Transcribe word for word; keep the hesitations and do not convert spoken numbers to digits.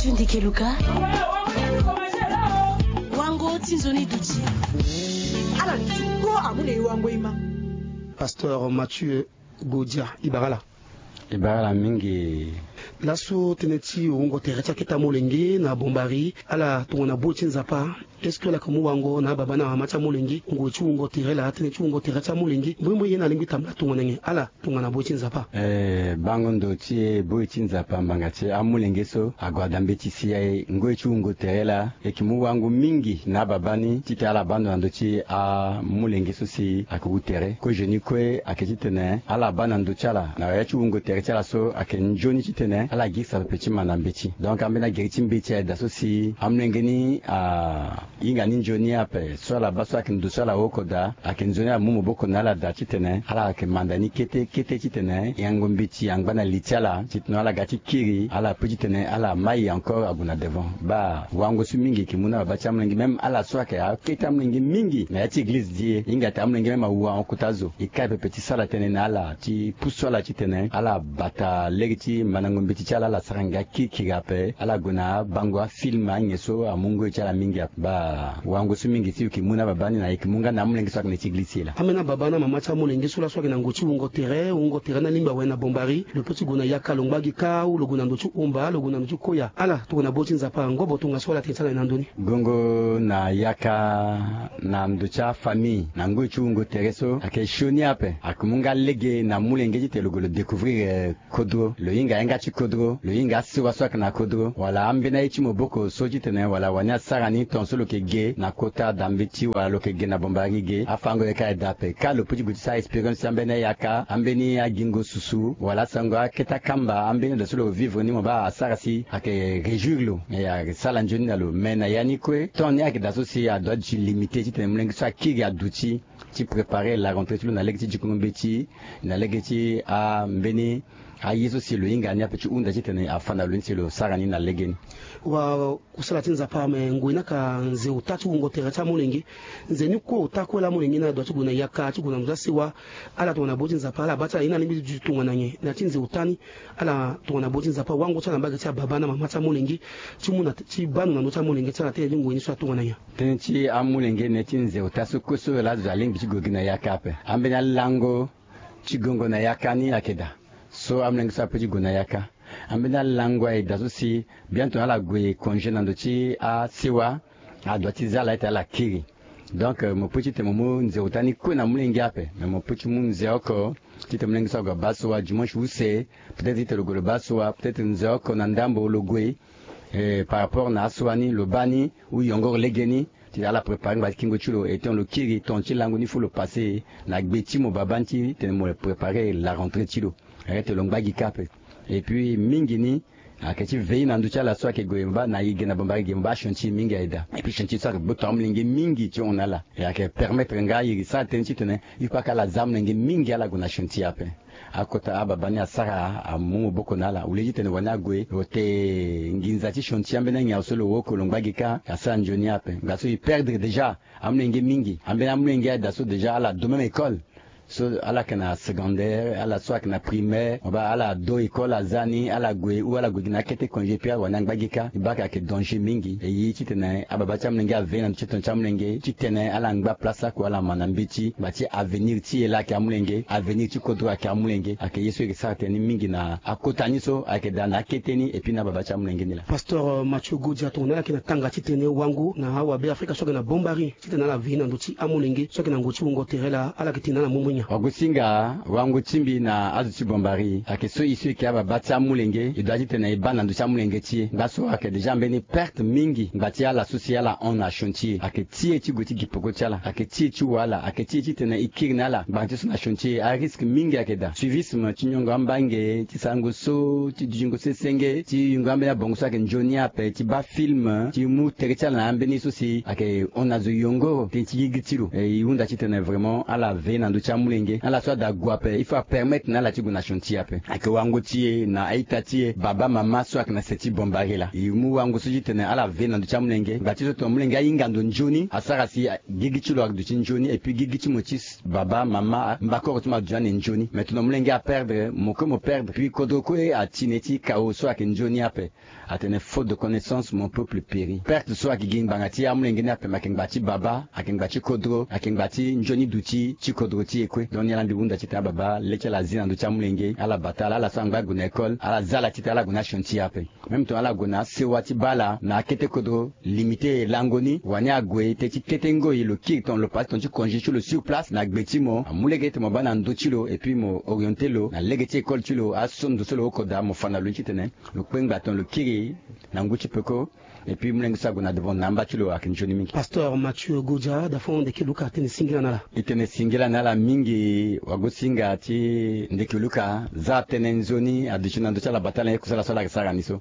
Tundikeluka. Wango ti nzoni duti. Ala ni ti kpo amu na e wango ema. Pasteur Mathieu Godia, e bara ala. E bara ala mingi. Laso tënë ti wungo tere ti akete amolenge na Bombari, ala tongana boi ti Nzapa. Est-ce que ala yeke mu wango na ababa na amama ti amolenge? Ngoi ti wungo tere laa, tënë ti wungo tere ti amolenge, mboimboe ye na alingbi tambula tongana nyen? Ala tongana boi ti Nzapa. Eh, bango ndo ti e, boi ti Nzapa, mbanga ti e, amolenge so ague ada mbeti si aye. Ngoi ti wungo tere laa, e yeke mu wango mingi na ababa ni titene ala baa ndo na ndö ti amolenge so si ayeke wu tere. Kozo ni kue ayeke titene ala baa na ndö ti ala na ya ti wungo tere ti ala so ayeke nzoni titene ala girisa pepe ti manda mbeti. Donc ambeni agiri ti mbeti aye daa so si amolenge ni a hinga ni nzoni ape, so ala baa so ayeke ndo so ala oko daa, ayeke nzoni ala mu maboko na ala daa titene ala yeke manda ni kete kete titene yango mbeti angba na li ti ala titene ala ga ti kiri, ala pe titene ala mai encore ague na devant. Baa wango so mingi e yeke mu na babâ ti amolenge, même ala so ayeke akete amolenge mingi na ya ti eglize ti e, e hinga ate amolenge même awu ahon kota zo. E kai pepe ti sara tënë na ala, ti pusu ala titene ala bata lege ti mandango mbeti ti ala, ala sara ngia kirikiri ape, ala gue na abango afilm anyen so amu ngoi ti ala mingi ape. Baa wango so mingi si e yeke mu na babâ ni na e yeke mu nga na amolenge so ayeke na ti eglize ti e laa. Ambeni ababa na amama ti amolenge so laso ayeke na ngoi ti wungo tere, wungo tere ni alingbi awe na Bombari, lo pe ti gue na Yaka, lo ngba gi kâ, ou lo gue na ndo ti Omba, lo gue na ndo ti Koya. Ala tongana boi ti Nzapa, ngobo tongaso ala tene ti ala na ndo ni. Gongo na Yaka na ndo ti afamille na ngoi ti wungo tere so ayeke sioni ape. Ayeke mu nga lege na amolenge titene lo gue lo découvrir, eh, kodro, lo hinga yanga ti kodro, lo hinga asewa so ayeke na kodro, wala ambeni aye ti maboko so titene wala wani asara ni, tongaso lo yeke ge na kota da mbeti wala lo yeke ge na Bombari ge, afango yeke aye daa ape. Kâ lo pe ti gue ti sara expérience ti ambeni ayaka, ambeni agingo susu, wala asango akete akamba, ambeni daa so lo vivre ni mo baa asara si ayeke réjouir lo, eh, ayeke sara nzoni na lo. Mais na ya ni kue, temps ni ayeke daa so si adoit ti limité titene molenge so akiri aduti ti préparer la rentrée ti lo na lege ti dikongo mbeti, na lege ti ambeni aye so si lo hinga ni ape ti hunda titene afa na lo ni si lo sara ni na lege ni. Wa kusala ti Nzapa, me ngoi ni ayeke nze ota ti wungo tere ti amolenge. Nze ni kue ota kue laa amolenge ni adoit ti gue na yaka, ti gue na ndo ti asewa. Ala tongana boi ti Nzapa, ala baa ti ala ye ni alingbi ti duti tongana nyen na ya ti nze ota ni? Ala tongana boi ti Nzapa, wango ti ala na mbage ti ababa na mama ti amolenge, ti mu na ti baa ndo na ndö ti amolenge ti ala tënë ti ngoi ni so atongana nyen? Tënë ti amolenge na ya ti nze ota so kue so laa azo alingbi ti gue gi na yaka ape. Ambeni alango ti gongo na yaka ni ayeke daa. So amolenge so ape ti gue na yaka, ambeni alango aye daa so si bientôt ala gue congé na ndo ti asewa, adoit ti zia ala ete ala kiri. Donc, euh, mo pe titene mo mu nze ota ni kue na molenge ape, me mo pe ti mu nze oko titene molenge so ague abaa asewa dimanche use, peut-être titene lo gue lo baa asewa, peut-être nze oko na ndambo lo gue, eh, par rapport na asewa ni lo baa ni, ou yongoro lege ni, titene ala préparer ngba ti kingo ti lo, et tant lo kiri, temps ti lango ni faut lo passer na gbe ti mo babâ ni titene mo préparer la rentrée ti lo. Arrêter lo ngba gi kâ ape. Et puis mingi ni ayeke ti veiller na ndö ti ala so ayeke gue mo baa na e ge na Bombari ge, mo baa chantier mingi aye daa. Et puis chantier so ayeke gboto amolenge mingi ti hon na ala. E ayeke permettre nga e sara tënë titene il faut ake ala zia amolenge mingi ala gue na chantier ape. Akota ababa ni asara amu maboko na ala. Au lieu titene wani ague, lo te nginza ti chantier ambeni anyen so lo oko lo ngba gi kâ, asara nzoni ape. Nga so e perdre déjà amolenge mingi. Ambeni amolenge aye daa so déjà ala do même école. So ala yeke na secondaire, ala so ayeke na primaire, mo baa ala do école azia ni, ala gue ou ala gue gi na akete congé, puis ala wani angba gi kâ, e baa ayeke danger mingi. E ye titene ababa ti amolenge aveiller na ndö ti tongana ti amolenge titene ala ngba place oko ala ma na mbeti ngba ti avenir ti e laa ayeke amolenge, avenir ti kodro ayeke amolenge. Ayeke ye so e yeke sara tënë ni mingi na akota ni so ayeke daa na akete ni, et puis na ababa ti amolenge ni laa. Pasteur Mathieu Godia, tongana ala yeke na tanga titene wango na awabe Afrika so ayeke na Bombari titene ala veiller na ndö ti amolenge so ayeke na ngoi ti wungo tere laa, ala yeke tene na ala mombongo nyen? Wagosinga, wango ti mbi na azo ti Bombari ayeke so e so e yeke ababa ti amolenge, e doit titene e baa na ndö ti amolenge ti e. Nga so ayeke déjà mbeni perte mingi ngba ti ala so si ala hon na chantier. Ayeke ti e ti gue ti gi peko ti ala, ayeke ti e ti wa ala, ayeke ti e titene e kiri na ala ngbanga ti so na chantier. Arisque mingi ayeke daa. Suivisme ti nyongo ambange, ti sarango so, ti dutingo sesenge, ti yungo ambeni abongo so ayeke nzoni ape, ti baa film, ti mu tere ti ala na ambeni so si ayeke hon na zo yongoro tënë ti gigi ti lo. E, e hunda titene vraiment ala veiller na ndö ti amu Molenge ala so ada gue ape, il faut apermettre na ala ti gue na chantier ape. Ayeke wango ti e na a-ita ti e, baba mama so ayeke na se ti Bombari laa. E mu wango so ti tene ala ve na ndö ti amolenge. Ngba ti so tongana molenge ahinga ndo nzoni, asara si gigi ti lo aduti nzoni, et puis gigi ti mo ti baba mama, mbakoro ti mo aduti ande nzoni. Mais tongana molenge aperdre, mo kue mo perdre. Puis kodro kue ati na ye ti kao so ayeke nzoni ape. Atene faute de connaissance, mon peuple périt. Perte so ayeke gi ngbanga ti amolenge ni ape, ma ayeke ngba ti baba, ayeke ngba ti kodro, ayeke ngba ti nzoni duti ti kodro ti e kue. Donc ni ala ndi hunda titene ababa le ti ala azi na ndö ti amolenge, ala bata ala, ala so angba ague na école, ala za ala titene ala gue na achantier ape. Même tongana ala gue na asewa ti baa ala na akete kodro, limite lango ni, wani ague te ti kete ngoi, lo kiri tongana lo pase tongana ti congé ti lo sur place na gbe ti mo, amu lege ti mo baa na ndö ti lo, et puis mo orienter lo na lege ti école ti lo, aso ndo so lo oko daa, mo fa na lo ni titene lo kpengba tongana lo kiri na ngu ti peko. Et puis molenge so ague na devant na amba ti lo ayeke nzoni mingi. Pasteur Mathieu Godia, da fo ndeke luka atene singila na ala. E tene singila na ala mingi, wagosinga ti ndeke luka, za tënë nzoni aduti na ndö ti ala bata na ye kusala so ala yeke sara ni so.